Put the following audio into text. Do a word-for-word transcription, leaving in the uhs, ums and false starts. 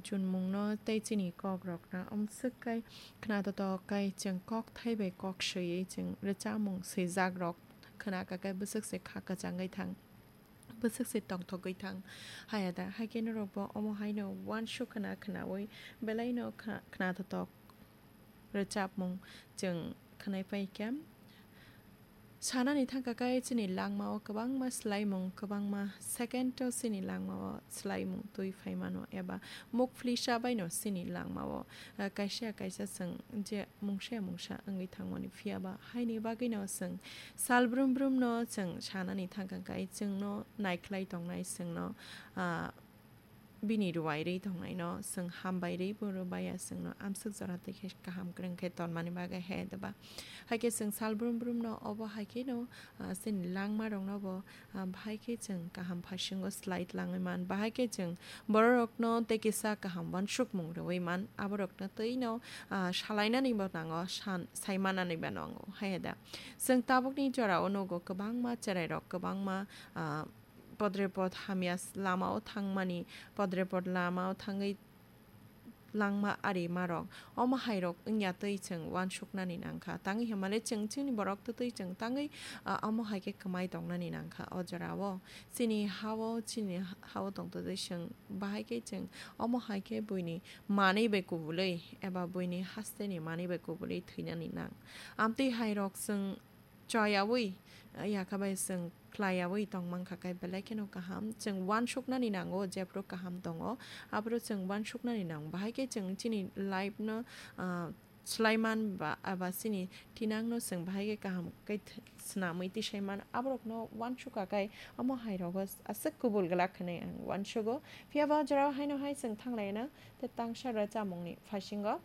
chunmungno tei chini kokrokno amswk kai khna totok kai chwng kok thai bai kok swiwi chwng rwchapmung swijakrok khna kakai bwswk se kha kwchangwi thang, bwswk se tongthogwi thang. Haya da, hai khe norokbo omo haino uansuk khna khnaui belaino khna, khna totok rwchapmung chwng khwnai pai kha. Sanani thangkha khe chini langmao kwbangma swlaimung, kwbangma second-o chini langmao swlaimung twi phai mano eba muk phlisa baino chini langmao, ah, kaisa kaisa chwng je mungsa mungsa wngwi thangmani, phiya ba haini bagwino chwng sal brum brumno chwng sanani thangkha khe chwngno naikhlai tongnai, chwngno, ah, bini ruai rwi tongnaino chwng hambai rwi bo rwbaiya, chwngno amswk jora twi khe kaham kwrwng khe tonmani bagwi he deba. Hai khe chwng sal brum brumno obo hai kheno, ah, chini langmarokno bo, ah, bahai khe chwng kaham phasingo slai tlangwi man, bahai khe chwng bororokno tei kisa kaham uansukmung rwui man, aborokno twino, ah, salainani bo nango, san-, saimanani bo nango, hai da. Chwng tabukni jorao nugo kwbangma cherairok, kwbangma, ah, podrepot hamya s-, lamao thangmani, podrepot lamao thangwi langma ari marok. Omo hairok wngya twi chwng uansuknani nangkha. Tangwi hwnmale chwng chini borok twtwi chwng tangwi, ah, omo hai khe kwmai tongnani nangkha o jorao. Chini ha-o, chini ha-o tongtwtwi chwng bahai khe chwng omo hai khe buini manwi bai kubulwi eba buini hasteni manwi bai kubulwi thwinani nang. Amtwi hairok chwng choyaui, ah, yakha bai chwng khlaiyaui tongmang kha khe belai kheno kaham. Chwng uansuknani nango, jephru kaham tongo, aphuru chwng uansuknani nango. Bahai khe chwng chini life no, ah, swlaiman ba, aba chini thinang no chwng bahai khe kaham khe th-, swnamwi tisai man. Aborok no uansukha khe omo hai rogo aswk kubul glak hwnwi ang uansugo. Phiya ba jorao haino hai chwng thanglaina tei tangsa rwchapmung ni phasingo.